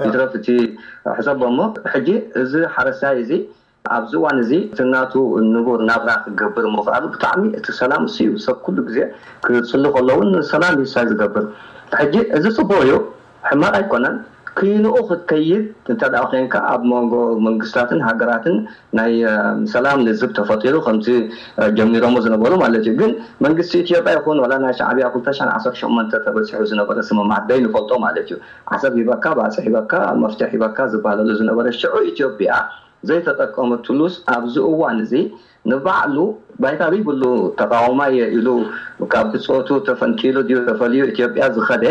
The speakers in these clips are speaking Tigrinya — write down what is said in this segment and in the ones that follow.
ይትረፍ እቲ ሕሰቦ እሞ፣ ሕጂ እዚ ሓረስታይ እዚ ኣብዚ እዋን እዚ እቲ ናቱ ንቡር ናብራ ክገብር ምኽኣሉ ብጣዕሚ እቲ ሰላም እሱ እዩ። ሰብ ኩሉ ግዜ ክጽሊ ከሎ እውን ሰላም እዩ ዝገብር። ሕጂ እዚ ጽቡቕ እዩ፣ ሕማቕ ኣይኮነን። ክይንኡ ክትከይድ እንተ ደኣ ኮንካ ኣብ መንጎ መንግስታትን ሃገራትን ናይ ሰላም ልዝብ ተፈጢሩ ከምቲ ጀሚሮሞ ዝነበሩ ማለት እዩ። ግን መንግስቲ ኢትዮጵያ ይኹን ዋላ ናይ ሻዕብያ ክልተ ሽሕን ዓሰርተ ሸሞንተ ተበፂሑ ዝነበረ ስምምዓት ዘይንፈልጦ ማለት እዩ። ዓሰብ ሂበካ፣ ባፅዕ ሂበካ፣ መፍትሕ ሂበካ ዝበሃለሉ ዝነበረ ሽዑ ኢትዮጵያ ዘይተጠቀመትሉስ ኣብዚ እዋን እዚ ንባዕሉ ባይታ ዘይብሉ ተቃዋማይ እየ ኢሉ ካብ ብፆቱ ተፈንቂሉ ድዩ ተፈልዩ ኢትዮጵያ ዝኸደ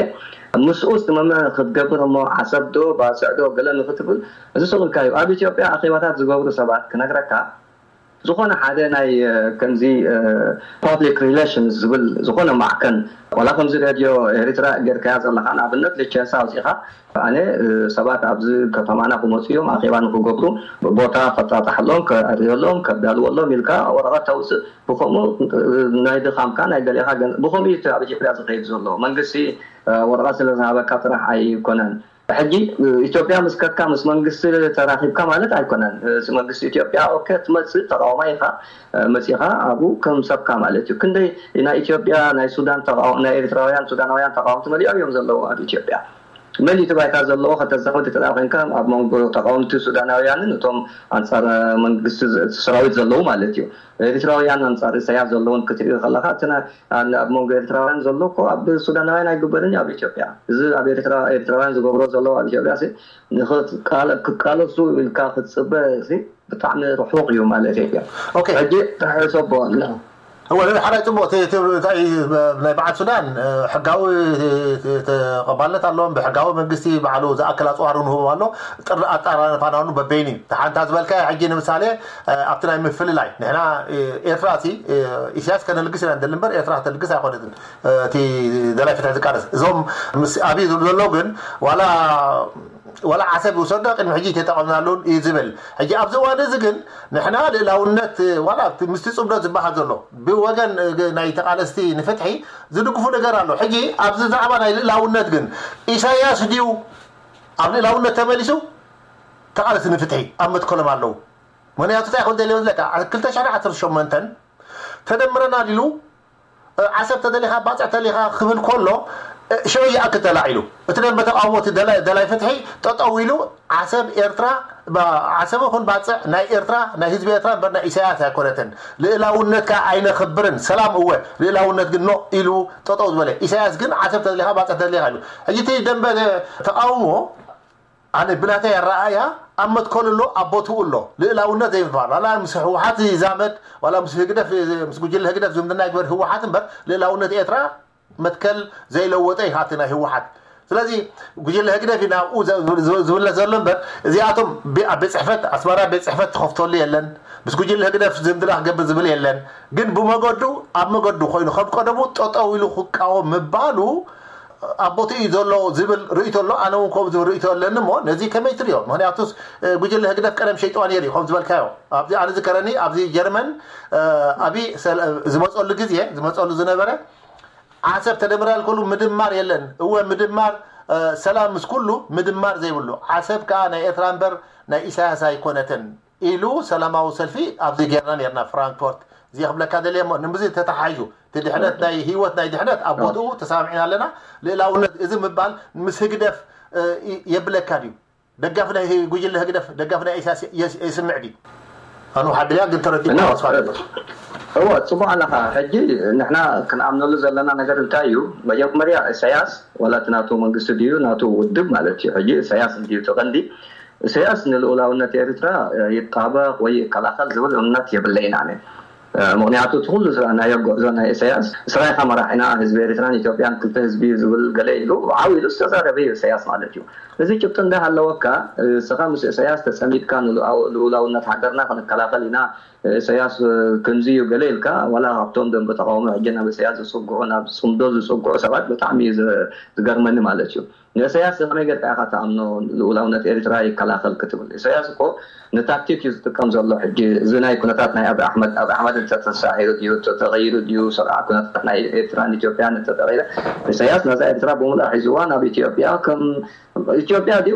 ምስኡስ መመ ክትገብር እሞ ዓሰብ ዶ ባፅዕ ዶ ገለ ንክትብል እዚ ስቕ ኢልካ እዩ። ኣብ ኢትዮጵያ ኣኼባታት ዝገብሩ ሰባት ክነግረካ ዝኾነ ሓደ ናይ ከምዚ ፓብሊክ ሪሌሽንስ ዝብል ዝኾነ ማዕከን ዋላ ከምዚ ሬድዮ ኤሪትራ ጌርካያ ዘለካ ንኣብነት ልቸንሳ ኣውፂኻ ኣነ ሰባት ኣብዚ ከተማና ክመፁ እዮም ኣኼባ ንክገብሩ ቦታ ከጣጣሐሎም ከዕርየሎም ከዳልወሎም ኢልካ ወረቐት ተውፅእ ብከምኡ ናይ ድኻምካ ናይ ገሌኻ ብከምኡ እዩ ኣብ ኢትዮጵያ ዝኸይድ ዘሎ መንግስቲ ወረቐት ስለዝሃበካ ጥራሕ ኣይኮነን ሕጂ ኢትዮጵያ ምስ ከድካ ምስ መንግስቲ ተራኺብካ ማለት ኣይኮነን። መንግስቲ ኢትዮጵያ ኦኬ ትመፅእ ተቃዋማይ ኢኻ መፂኻ ኣብኡ ከም ሰብካ ማለት እዩ። ክንደይ ናይ ኢትዮጵያ ናይ ሱዳን ናይ ኤርትራውያን ሱዳናውያን ተቃወምቲ መሊኦም እዮም ዘለዉ ኣብ ኢትዮጵያ። መን እቲ ባይታ ዘለዎ ከተዛመድ ተዳ ኮንካ ኣብ መንጎ ተቃወምቲ ሱዳናውያንን እቶም ኣንፃር መንግስቲ ሰራዊት ዘለዉ ማለት እዩ። ኤርትራውያን ኣንፃር ኢሳያስ ዘለውን ክትሪኢ ከለካ እቲ ኣብ መንጎ ኤርትራውያን ዘሎ እኮ ኣብ ሱዳናውያን ኣይግበርን እዩ ኣብ ኢትዮጵያ። እዚ ኣብ ኤርትራ ኤርትራውያን ዝገብሮ ዘለዉ ኣብ ኢትዮጵያ ሲ ንኽትቃለ- ክቃለሱ ኢልካ ክትፅበ ሲ ብጣዕሚ ርሑቕ እዩ ማለት እዩ። ኦኬ። ሕጂ ተሕሰቦ ኣሎ። እወ፣ እዚ ሓራይ ጽቡቕ፣ እቲ፣ እቲ፣ እንታይ፣ ናይ በዓል ሱዳን፣ እ፣ ሕጋዊ፣ እ፣ ተቐባልነት ኣለዎም። ብሕጋዊ መንግስቲ ባዕሉ ዝኣክል ኣጽዋር ንህቦም ኣሎ። ጥሪ ኣጣራርፋና እውን በበይኑ እዩ። እቲ ሓንታ ዝበልካዮ ሕጂ ንምሳሌ፣ እ፣ ኣብቲ ናይ ምፍልላይ፣ ንሕና፣ እ፣ ኤርትራ እቲ፣ እ፣ ኢሳያስ ከነልግስ ኢና ንደሊ እምበር ኤርትራ ከተልግስ ኣይኮነትን። እ፣ እቲ ደላይ ፍትሒ ዝቃለስ። እዞም ምስ ኣብይ ዝብሉ ዘለዉ ግን ዋላ ዋላ ዓሰብ ይውሰዶ ቅድሚ ሕጂ ተጠቐምናሉን እዩ ዝብል። ሕጂ ኣብዚ እዋን እዚ ግን ንሕና ልእላውነት ዋላ ኣብቲ ምስቲ ጽምዶ ዝበሃል ዘሎ ብወገን ናይ ተቓለስቲ ንፍትሒ ዝድግፉ ነገር ኣሎ። ሕጂ ኣብዚ ዛዕባ ናይ ልእላውነት ግን ኢሳያስ ድዩ ኣብ ልእላውነት ተመሊሱ ተቓለስቲ ንፍትሒ ኣብ መትከሎም ኣለዉ። ምክንያቱ እንታይ ክብል ደልዮ ዝለካ ክልተ ሽሕን ዓሰርተ ሸሞንተን ተደምረናል ኢሉ ዓሰብ ተደሊኻ ባፅዕ ተሊኻ ክብል ከሎ ሽዑ ይኣክል ተላዒሉ እቲ ደንበ ተቃውሞ እቲ ደላይ ፍትሒ ጠጠው ኢሉ ዓሰብ ኤርትራ ዓሰብ ይኹን ባፅዕ ናይ ኤርትራ ናይ ህዝቢ ኤርትራ እምበር ናይ ኢሳያስ ኣይኮነትን። ልእላውነት ከዓ ኣይነኽብርን ሰላም እወ ልእላውነት ግን ኖ ኢሉ ጠጠው ዝበለ ኢሳያስ ግን ዓሰብ ተደሊኻ ባፅዕ ተደሊኻ ኢሉ ሕጂ እቲ ደንበ ተቃውሞ ኣነ ብናተይ ኣረኣእያ ኣብ መትከሉ ኣሎ ኣብ ቦትኡ ኣሎ ልእላውነት ዘይምባል ዋላ ምስ ህወሓት ይዛመድ ዋላ ምስ ህግደፍ ምስ ጉጅለ ህግደፍ ዝምድና ይግበር ህወሓት እምበር ልእላውነት ኤርትራ መትከል ዘይለወጠ እዩ ካብቲ ናይ ህወሓት ስለዚ ጉጅለ ህግደፍ እዩ ናብኡ ዝብለት ዘሎ እምበር እዚኣቶም ኣብ ቤት ፅሕፈት ኣስመራ ቤት ፅሕፈት ተኸፍተሉ የለን ምስ ጉጅለ ህግደፍ ዝምድና ክገብር ዝብል የለን ግን ብመገዱ ኣብ መገዱ ኮይኑ ከም ቀደሙ ጠጠው ኢሉ ክቃወም ምባሉ ኣብ ቦትኡ እዩ ዘሎ ዝብል ርእይቶ ኣሎ ኣነ እውን ከምኡ ዝብል ርእይቶ ኣለኒ እሞ ነዚ ከመይ ትሪኦ ምክንያቱስ ጉጅለ ህግደፍ ቀደም ሸይጥዋ ነይሩ እዩ ከም ዝበልካዮ ኣብዚ ኣነ ዝከረኒ ኣብዚ ጀርመን ኣብይ ዝመፀሉ ግዜ ዝመፀሉ ዝነበረ ዓሰብ ተደምራል ከሉ ምድማር የለን እወ ምድማር ሰላም ምስ ኩሉ ምድማር ዘይብሉ ዓሰብ ከዓ ናይ ኤርትራ እምበር ናይ ኢሳያስ ኣይኮነትን ኢሉ ሰላማዊ ሰልፊ ኣብዚ ጌርና ኔርና ፍራንክፎርት እዚ ክብለካ ደልየ እሞ ንምዚ ተተሓሒዙ እቲ ድሕነት ናይ ህይወት ናይ ድሕነት ኣብ ቦትኡ ተሰማሚዕና ኣለና ልእላውነት እዚ ምባል ምስ ህግደፍ የብለካ ድዩ ደጋፊ ናይ ጉጅለ ህግደፍ ደጋፊ ናይ ኢሳያስ የስምዕ ድዩ ኣኑ ሓድያ ግን ተረዲእካ ተስፋ ኣለና እወ ፅቡቅ ኣለካ ሕጂ ንሕና ክንኣምነሉ ዘለና ነገር እንታይ እዩ መጀመርያ ኢሳያስ ዋላ እቲ ናቱ መንግስቲ ድዩ ናቱ ውድብ ማለት እዩ ሕጂ ኢሳያስ እንድዩ እቲ ቀንዲ ኢሳያስ ንልኡላውነት ኤርትራ ይጣበቕ ወይ ይከላኸል ዝብል እምነት የብለይን ኣነ። ምኽንያቱ እቲ ኩሉ ዝረኣናዮ ጉዕዞ ናይ ኢሳያስ እስራይኻ መራሒና ህዝቢ ኤርትራን ኢትዮጵያን ክልተ ህዝቢ እዩ ዝብል ገለ ኢሉ ዓው ኢሉ ዝተዛረበ እዩ ኢሳያስ ማለት እዩ። እዚ ጭብጢ እንዳሃለወካ እስኻ ምስ ኢሳያስ ተጸሚድካ ንልኡላውነት ሃገርና ክንከላኸል ኢና ኢሳያስ ከምዚ እዩ ገለ ኢልካ ዋላ ካብቶም ደንበ ተቃውሞ ሕጂ ናብ ኢሳያስ ዝጽግዑ ናብ ጽምዶ ዝጽግዑ ሰባት ብጣዕሚ እዩ ዝገርመኒ ማለት እዩ። ንእሰያስ ከመይ ጌርካ ኢኻ ትኣምኖ ልኡላውነት ኤርትራ ይከላኸል ክትብል? እሰያስ እኮ ንታክቲክ እዩ ዝጥቀም ዘሎ ሕጂ እዚ ናይ ኩነታት ናይ ኣብይ ኣሕመድ ኣብይ ኣሕመድ እንተተሳዒሩ ድዩ እንተተቐይሩ ድዩ ሰብዓ ኩነታት ናይ ኤርትራን ኢትዮጵያን እንተተቐይረ እሰያስ ነዛ ኤርትራ ብምሉኣ ሒዝዋ ናብ ኢትዮጵያ ከም ኢትዮጵያ ድዩ